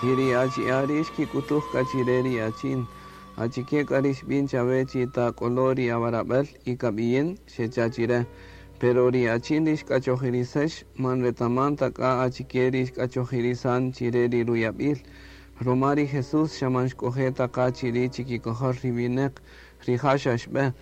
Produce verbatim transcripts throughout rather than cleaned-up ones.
Y ri achi'a' ri' xkik'utuj k'a chire ri achin: Achike k'a ri xb'in chawe chi tak'olo' ri awarab'el y kab'iyin? Xecha' chire. Pero ri achin ri xk'achojirisex man retaman ta k'a achike ri xk'achojirisan chire ri ruyab'il. Roma ri Jesús xa man xk'oje' ta qa chiri' chikikojol ri wineq, rija' xa xb'e.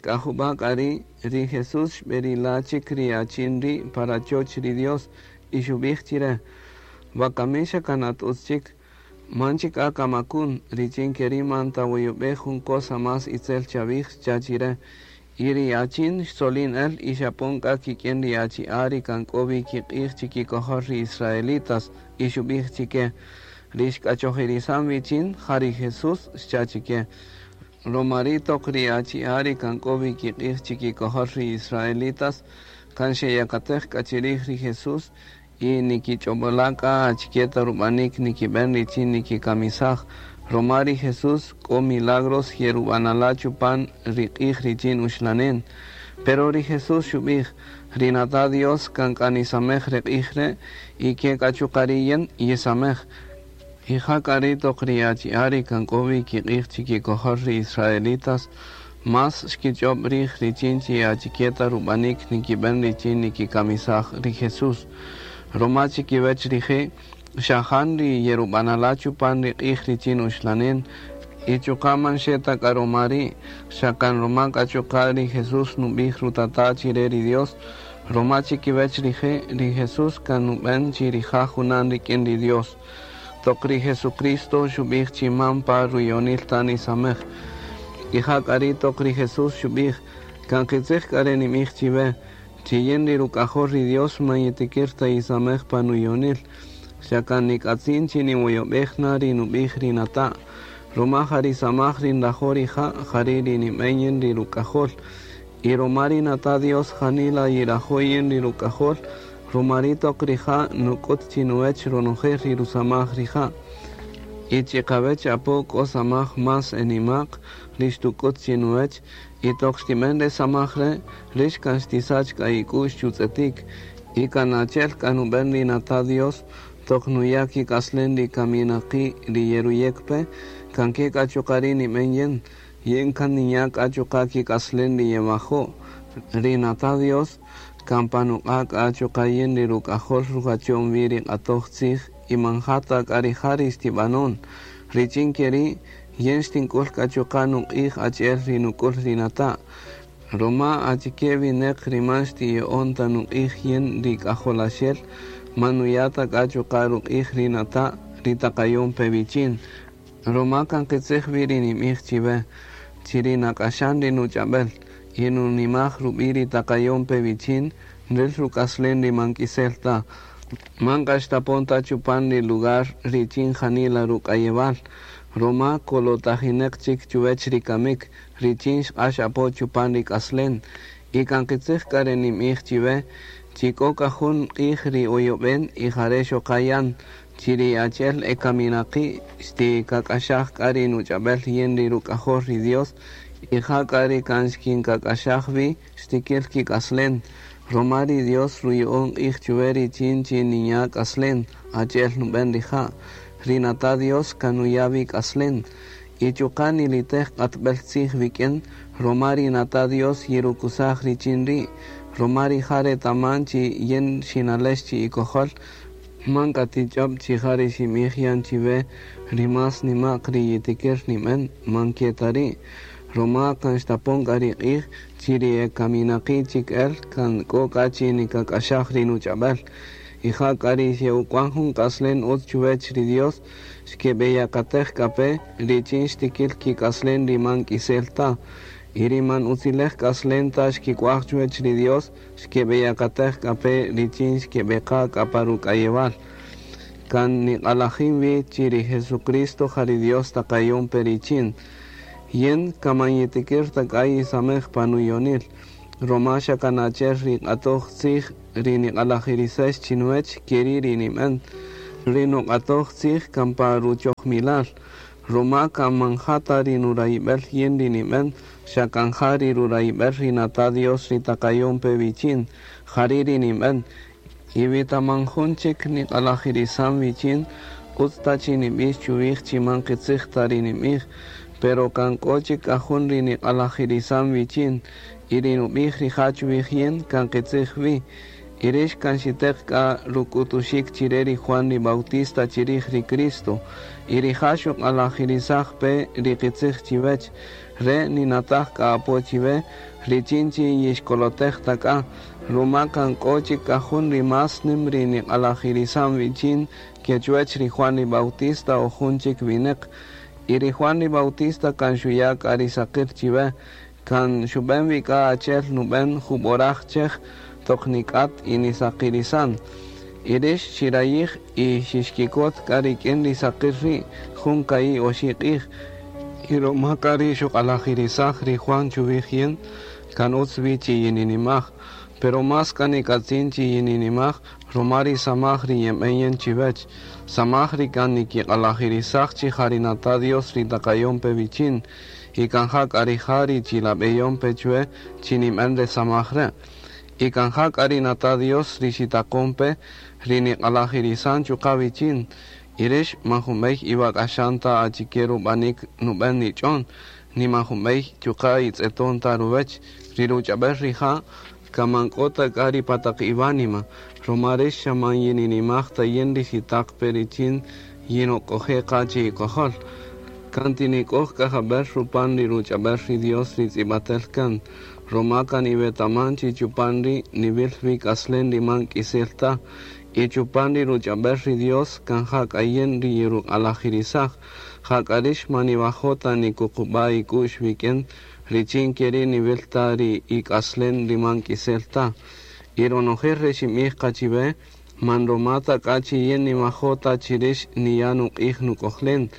K'a jub'a' k'a ri', ri Jesús xb'erila' chik ri achin ri' pa rachoch ri Dios y xub'ij chire: Wakami xa kan at utz chik, man chik k'a kamakun, richin keri' man tawoyob'ej jun cosa más itzel chawij, xcha' chire. Y ri achin xtzolin el y xapon k'a kik'in ri achi'a' ri kan k'o wi kiq'ij chikikojol ri israelitas y xub'ij chike: Ri xk'achojirisan wichin ja ri Jesús, xcha' chike. Roma ri' toq ri achi'a' ri kan k'o wi kiq'ij chikikojol ri israelitas kan xeyakatej k'a chirij ri Jesús y nikich'ob'ola' k'a achike ta rub'anik nikib'en richin nikikamisaj. Roma ri Jesús k'o milagros yerub'anala' chupan ri q'ij richin uxlanen. Pero ri Jesús xub'ij: Ri nata' Dios kan k'a nisamej re q'ij re' y ke k'a chuqa' ri yin yisamej. Y ja k'a ri' toq ri achi'a' ri kan k'o wi kiq'ij chikikojol ri israelitas más xkich'ob' rij richin chi achike ta rub'anik nikib'en richin nikikamisaj ri Jesús. Roma chikiwech rije' xajan ri yerub'anala' chupan ri q'ij richin uxlanen y chuqa' man xe ta k'a roma ri' xa kan roma k'a chuqa' ri Jesús nub'ij rutata' chire ri Dios. Roma chikiwech rije' ri Jesús kan nub'en chi rija' junan rik'in ri Dios. Toq ri Jesucristo xub'ij chi man pa ruyonil ta nisamej. Y ja k'a ri' toq ri Jesús xub'ij: Kan qitzij k'a re nimij chiwe, chi yin ri ruk'ajol ri Dios man yitikir ta yisamej pa nuyonil. Xa kan nik'atzin chi niwoyob'ej na ri nub'ij ri nata'. Roma ja ri samaj ri nrajo' rija' jari' ri nib'en yin ri ruk'ajol. Y roma ri nata' Dios janila yirajo' yin ri ruk'ajol, roma ri' toq rija' nuk'ut chinuwech ronojel ri rusamaj rija'. Y chiqawech apo k'o samaj más enimaq ri xtuk'ut chinuwech y toq xtib'en re samaj re' rix kan xtisach k'a ik'u'x chutz'etik. Y kan achi'el k'a nub'en ri nata' Dios toq nuya' kik'aslen ri kaminaqi' ri yeruyek pe, kan ke k'a chuqa' ri' nib'en yin, yin kan ninya' k'a chuqa' kik'aslen ri yewajo'. Ri nata' Dios kan pa nuq'a' k'a chuqa' yin ri ruk'ajol rujachon wi ri q'atoj tzij y man ja ta k'a rija' ri xtib'anon. Richin keri' yin xtink'ul k'a chuqa' nuq'ij achi'el ri nuk'ul ri nata'. Roma achike wineq ri man xtiya'on ta nuq'ij yin ri k'ajolaxel, man nuya' ta k'a chuqa' ruq'ij ri nata' ri taqayon pe wichin. Roma kan qitzij wi ri nimij chiwe, chi ri nak'axan ri nuch'ab'el y nunimaj rub'i' ri taqayon pe wichin, nril ruk'aslen ri man k'isel ta. Man k'a xtapon ta chupan ri lugar richin janila ruk'ayewal. Roma kolotajineq chik chuwech ri kamik, richin xq'ax apo chupan ri k'aslen. Y kan qitzij k'a re nimij chiwe, chi k'o k'a jun q'ij ri oyob'en y jare' xoqayan, chi ri achi'el e kaminaqi' xtikak'axaj k'a ri nuch'ab'el yin ri ruk'ajol ri Dios, y ja k'a ri kan xkinkak'axaj wi xtikil kik'aslen. Roma ri Dios ruya'on q'ij chuwe richin chi ninya' k'aslen, achi'el nub'en rija'. Ri nata' Dios kan nuya' wi k'aslen. Y chuqa' nilitej q'atb'el tzij wik'in, roma ri nata' Dios yirukusaj richin ri'. Roma rija' retaman chi yin xinalex chi ikojol, man k'a tich'ob' chi ja ri xinb'ij yan chiwe ri más nima'q ri yitikir nib'en, man ke ta ri'. Roma kan xtapon k'a ri q'ij chi ri e kaminaqi' chik el kan k'o k'a chi nikak'axaj ri nuch'ab'el. Y ja k'a ri xe'uk'wan jun k'aslen utz chuwech ri Dios, xkeb'eyakatej k'a pe richin xtikil kik'aslen ri man k'isel ta. Y ri man utzilej k'aslen ta xkik'uaj chuwech ri Dios, xkeb'eyakatej k'a pe richin xkeb'eqa k'a pa ruk'ayewal. Kan niq'alajin wi chi ri Jesucristo ja ri Dios taqayon pe richin. Yin kaman yitikir ta k'a yisamej pa nuyonil. Roma xa kan achi'el ri q'atoj tzij ri niq'alajirisex chinuwech keri' ri nib'en. Ri nuq'atoj tzij kan pa ruchojmilal. Roma kan man ja ta ri nurayib'el yin ri nib'en, xa kan ja ri rurayib'el ri nata' Dios ri taqayon pe wichin, jari' ri nib'en. Y wi ta man jun chik niq'alajirisan wichin, Utz ta chi nib'ix chuwij chi man qitzij ta ri nib'ij, pero kan k'o chik k'a jun ri niq'alajirisan wichin, y ri nub'ij rija' chuwij yin kan qitzij wi. Y rix kan xiteq k'a ruk'utuxik chire ri Juan ri Bautista chirij ri Cristo, y rija' xuq'alajirisaj pe ri qitzij chiwech, re ninataj k'a apo chiwe, richin chi yixkolotej ta k'a, ruma kan k'o chik k'a jun ri más nim ri niq'alajirisan wichin ke chuwech ri Juan ri Bautista o jun chik wineq. Y ri Juan ri Bautista kan xuya' k'a ri saqil chiwe, kan xub'en wi k'a achi'el nub'en jub'oraj chej toq nik'at y nisaqirisan. Y rix xirayij y xixkikot k'a rik'in ri saqil ri' jun ka'i' oxi' q'ij. Y ruma k'a ri xuq'alajirisaj ri Juan chuwij yin, kan utz wi chi yininimaj. Pero más k'a nik'atzin chi yininimaj ruma ri samaj ri yenb'en yin chiwech. Samaj ri kan nikiq'alajirisaj chi ja ri nata' Dios ri taqayon pe wichin, y kan ja k'a rija' ri chilab'eyon pe chwe chi nib'en re samaj re'. Y kan ja k'a ri nata' Dios ri xitaqon pe ri niq'alajirisan chuqa' wichin. Y rix man junb'ey iwak'axan ta achike rub'anik nub'en nich'on, ni man junb'ey chuqa' itz'eton ta ruwech. Ri ruch'ab'el rija' kan man k'o ta k'a ri pa taq iwánima, ruma rix xa man yininimaj ta yin ri xitaq pe richin yinok'oje' qa chi ikojol. Kan tinik'oj k'a jab'el rupan ri ruch'ab'el ri Dios ri tz'ib'atel kan, ruma kan iwetaman chi chupan ri' niwil wi k'aslen ri man k'isel ta, y chupan ri ruch'ab'el ri Dios kan ja k'a yin ri yiruq'alajirisaj, ja k'a rix man niwajo' ta nikuqub'a' ik'u'x wik'in, richin ke ri' niwil ta ri ik'aslen ri man k'isel ta. Y ronojel re xinb'ij qa chiwe, man ruma ta k'a chi yin niwajo' ta chi rix niya' nuq'ij nuk'ojlen.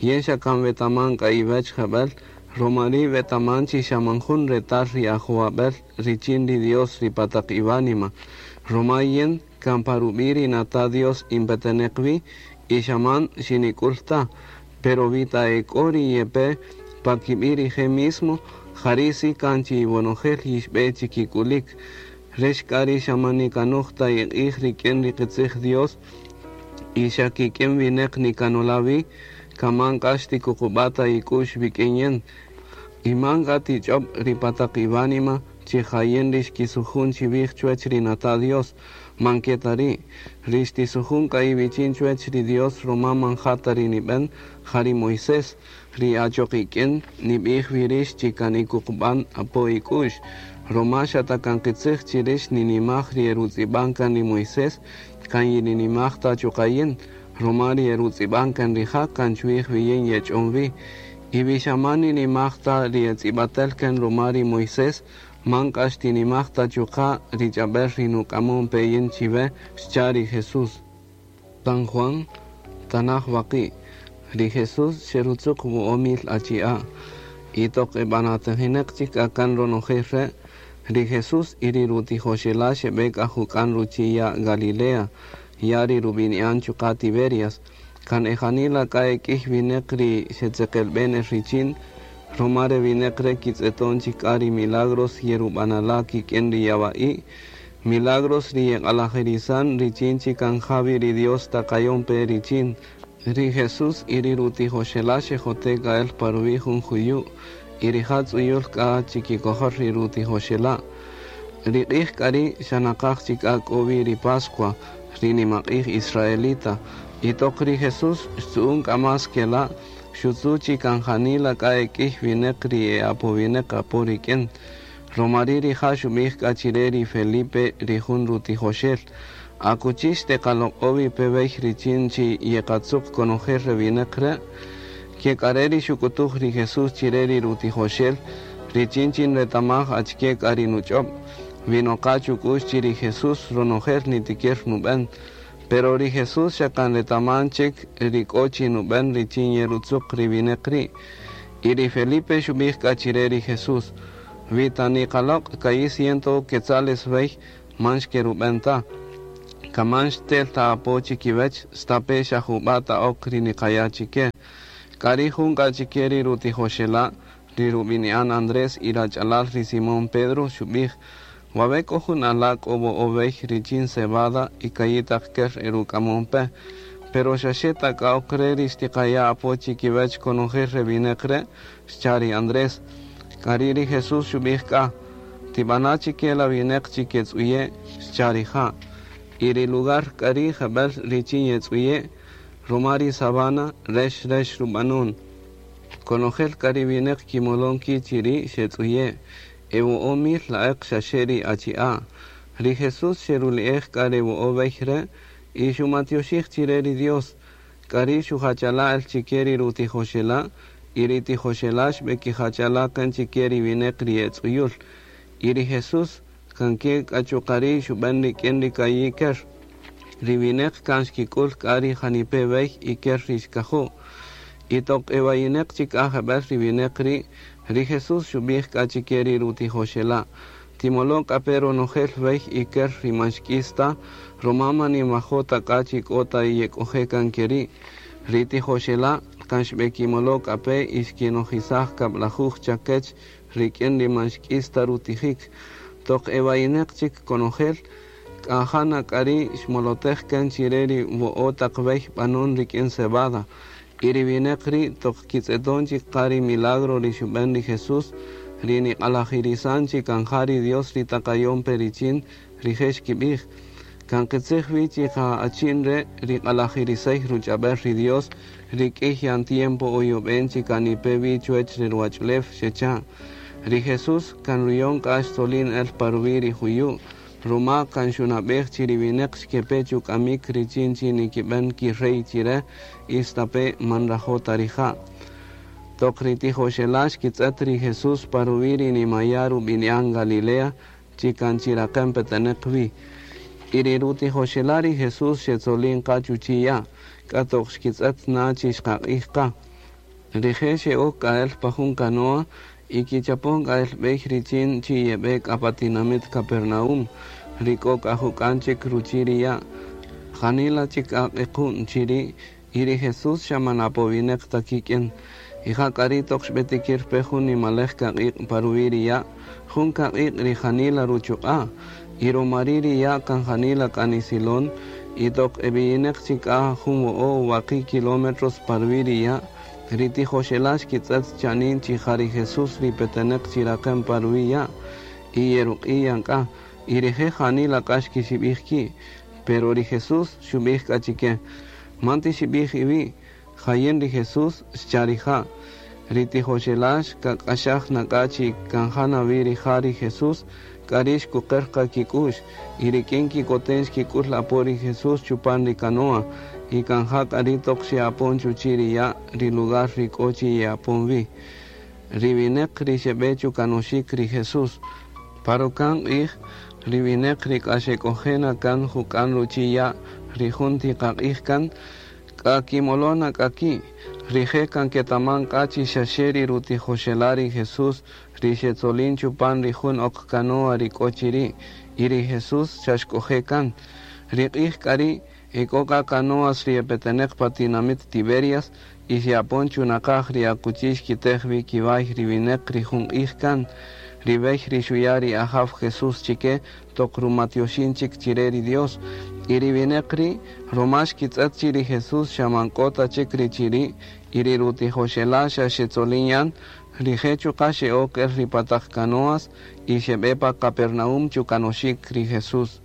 Yin xa kan wetaman k'a iwech jeb'el, ruma ri' wetaman chi xa man jun retal ri ajowab'el richin ri Dios ri pa taq iwánima. Ruma yin kan pa rub'i' ri nata' Dios inpeteneq wi, y xa man xinik'ul ta. Pero wi ta ek'o ri yepe pa kib'i' rije' mismo, jari' si kan chi iwonojel yixb'e chikik'ulik. Rix k'a ri xa man nikanuj ta iq'ij rik'in ri qitzij Dios, y xa kik'in wineq nikanola' wi, kan man k'a xtikuqub'a' ta ik'u'x wik'in yin. Y man k'a tich'ob' ri pa taq iwánima chi ja yin ri xkisujun chiwij chuwech ri nata' Dios, man ke ta ri'. Ri xtisujun k'a iwichin chuwech ri Dios ruma man ja ta ri nib'en, ja ri Moisés, ri achoq ik'in nib'ij wi rix chi kan ikuqub'an apo ik'u'x. Ruma xa ta kan qitzij chi rix ninimaj ri erutz'ib'an kan ri Moisés, kan yininimaj ta chuqa' yin, ruma ri erutz'ib'an kan rija' kan chuwij wi yin yech'on wi. Y wi xa man ninimaj ta ri etz'ib'atel kan ruma ri Moisés, man k'a xtinimaj ta chuqa' ri ch'ab'el ri nuk'amon pe yin chiwe, xcha' ri Jesús. San Juan, tanaj waqi'. Ri Jesús xerutzuq wo'o' mil achi'a'. Y toq eb'anatejineq chik k'a kan ronojel re', ri Jesús y ri rutijoxela' xeb'e k'a juk'an ruchi' ya' Galilea, ya' ri rub'ini'an chuqa' Tiberias. Kan ejanila k'a ek'ïy wineq ri xetzeqelb'en el richin, ruma re wineq re' kitz'eton chik k'a ri milagros yerub'anala' kik'in ri yawa'i', milagros ri yeq'alajirisan richin chi kan ja wi ri Dios taqayon pe richin. Ri Jesús y ri rutijoxela' xejote' k'a el pa ruwi' jun juyu', y rija' tz'uyul k'a chikikojol ri rutijoxela'. Ri q'ij k'a ri' xa naqaj chik k'a k'o wi ri Pascua, ri nimaq'ij israelita. Y toq ri Jesús xtzu'un k'a más kela', xutzu' chi kan janila k'a ek'ïy wineq ri e apowineq apo rik'in. Ruma ri' rija' xub'ij k'a chire ri Felipe ri jun rutijoxel, akuchi xteqaloq'o wi pe wey richin chi yeqatzuq konojel re wineq re'? Ke k'a re' ri xuk'utuj ri Jesús chire ri rutijoxel, richin chi nretamaj achike k'a ri nuch'ob', wi noqa chuk'u'x chi ri Jesús ronojel nitikir nub'en. Pero ri Jesús xa kan retaman chik ri k'o chi nub'en richin yerutzuq ri wineq ri'. Y ri Felipe xub'ij k'a chire ri Jesús, wi ta niqaloq' ka'i' ciento quetzales wey man xkerub'en ta. Kaman xtel ta apo chikiwech, stape' xa jub'a' ta ok ri niqaya' chike. K'a ri' jun k'a chike ri rutijoxela', ri rub'ini'an Andrés y rach'alal ri Simón Pedro, xub'ij, wawe' k'o jun ala' k'o wo'o' wey richin cebada y ka'i' taq ker eruk'amon pe, Pero xaxe ta k'a ok re' ri xtiqaya' apo chikiwech konojel re wineq re', xcha' ri Andrés. K'ari' ri Jesús xub'ij k'a, tib'ana' chike la wineq chi ketz'uye', xcha' rija'. Y ri lugar k'ari' jeb'ël richin yetz'uye', ruma ri sabana rex rex rub'anun. Konojel k'a ri wineq kimolon ki' chiri' xetz'uye', e wo'o' mil la'eq xaxe ri achi'a'. Ri Jesús xeruli'ej k'a re wo'o' b'ey re' y xumatioxij chire ri Dios. K'ari' xujachala' el chike ri rutijoxela' y ri tijoxela' xb'ekijachala' kan chike ri wineq ri etz'uyul. Y ri Jesús kan ke k'a chuqa' ri' xub'en rik'in ri ka'i' ker. Ri wineq kan xkik'ul k'a ri janipe' b'ey y ker ri xkajo'. Y toq ewayineq chik k'a jeb'ël ri wineq ri', ri Jesús xub'ij k'a chike ri rutijoxela', timolo' k'a pe ronojel b'ey y ker ri man xk'is ta, ruma man ninwajo' ta k'a chi k'o ta yek'oje' kan ke ri'. Ri tijoxela' kan xb'ekimolo' k'a pe y xkinojisaj kab'lajuj chakech rik'in ri man xk'is ta rutijik. Toq ewayineq chik konojel, k'a jana k'a ri' xmolotej kan chire ri wo'o' taq b'ey b'anun rik'in cebada. Y ri wineq ri' toq kitz'eton chik qa ri milagro ri xub'en ri Jesús, ri niq'alajirisan chi kan ja ri Dios ri taqayon pe richin, rije' xkib'ij. Kan qitzij wi chi ja achin re' ri q'alajirisey ruch'ab'el ri Dios, ri k'ïy yan tiempo oyob'en chi kanipe wi chuwech ri ruwach'ulew, xecha'. Ri Jesús kan ruyon k'a xtzolin el pa ruwi' ri juyu', ruma kan xunab'ej chi ri wineq xkepe chuk'amik richin chi nikib'en kirey chire y stape' man nrajo' ta rija'. Toq ri tijoxela' xkitz'et ri Jesús pa ruwi' ri nimaya' rub'ini'an Galilea, chi kan chiraqen peteneq wi. Y ri rutijoxela' ri Jesús xetzolin qa chuchi' ya', k'a toq xkitz'et na chi xqaq'ij qa. Rije' xe'ok k'a el pa jun canoa y kichapon k'a el b'ey richin chi yeb'e k'a pa tinamit Capernaum, ri k'o k'a juk'an chik ruchi' ri ya'. Janila chik k'a q'equn chiri' y ri Jesús xa man apowineq ta kik'in. Y ja k'a ri' toq xb'etikir pe jun nimalej kaq'iq' pa ruwi' ri ya', jun kaq'iq' ri janila ruchuq'a'. Y ruma ri' ri ya' kan janila k'a nisilon, y toq eb'iyineq chik k'a jun wo'o' waqi' kilómetros pa ruwi' ri ya', ri tijoxela' xkitz'et chanin chi ja ri Jesús ri peteneq chiraqen pa ruwi' ya', y yeruq'i' yan k'a, y rije' janila k'a xkixib'ij ki'. Pero ri Jesús xub'ij k'a chike, man tixib'ij iwi', jayin ri Jesús, xcha' rija'. Ri tijoxela' xkak'axaj na k'a chi kan jana wi rija' ri Jesús, k'a ri' xkuqer qa kik'u'x, y rik'in kikoten xkik'ul apo ri Jesús chupan ri canoa, y kan ja k'a ri' toq xe'apon chuchi' ri ya' ri lugar ri k'o chi ye'apon wi. Ri wineq ri xeb'e chukanoxik ri Jesús. Pa ruka'n q'ij, ri wineq ri k'a xek'oje' na kan juk'an ruchi' ya' ri jun tiqaq'ij kan, k'a kimolon na k'a ki'. Rije' kan ketaman k'a chi xaxe ri rutijoxela' ri Jesús ri xetzolin chupan ri jun ok canoa ri k'o chiri', y ri Jesús xa xk'oje' kan. Ri q'ij k'a ri' e k'o k'a canoas ri epeteneq pa tinamit Tiberias y xe'apon chunaqaj ri akuchi xkitej wi kiway ri wineq ri jun q'ij kan. Ri b'ey ri xuya' ri Ajaw Jesús chike toq rumatioxin chik chire ri Dios. Y ri wineq ri' ruma xkitz'et chi ri Jesús xa man k'o ta chik ri chiri' y ri rutijoxela' xa xetzolin yan, rije' chuqa' xe'ok el ri pa taq canoas y xeb'e pa Capernaum chukanoxik ri Jesús.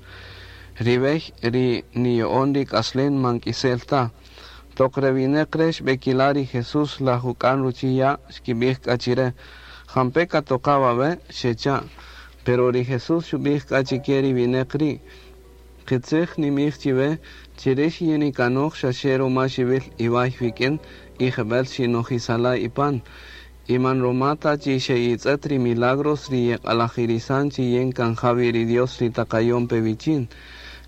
Ri b'ey ri niyo'on ri k'aslen man k'isel ta. Toq re wineq re' xb'ekila' ri Jesús la juk'an ruchi' ya' xkib'ij k'a chire, jampe katoqa wawe' xecha'. Pero ri Jesús xub'ij k'a chike ri wineq ri', qitzij nimij chiwe, chirix yinikanoj xaxe ruma xiwil iway wik'in y jeb'ël xinojisala' ipan. Y man ruma ta chi xe'itz'et ri milagros ri yeq'alajirisan chi yin kan ja wi ri Dios ri taqayon pe wichin.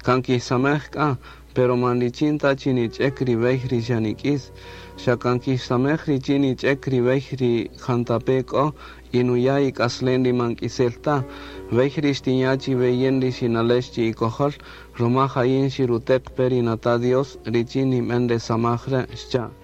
Kan kixsamej k'a, pero man richin ta chi nich'ek ri b'ey ri xa nik'is. Xa kan kixsamej richin nich'ek ri b'ey ri jantape k'o y nuya' ik'aslen ri man k'isel ta. B'ey ri xtinya' chiwe yin ri xinalex chi ikojol, ruma jayin xiruteq pe ri nata' Dios richin nib'en re samaj re', xcha'.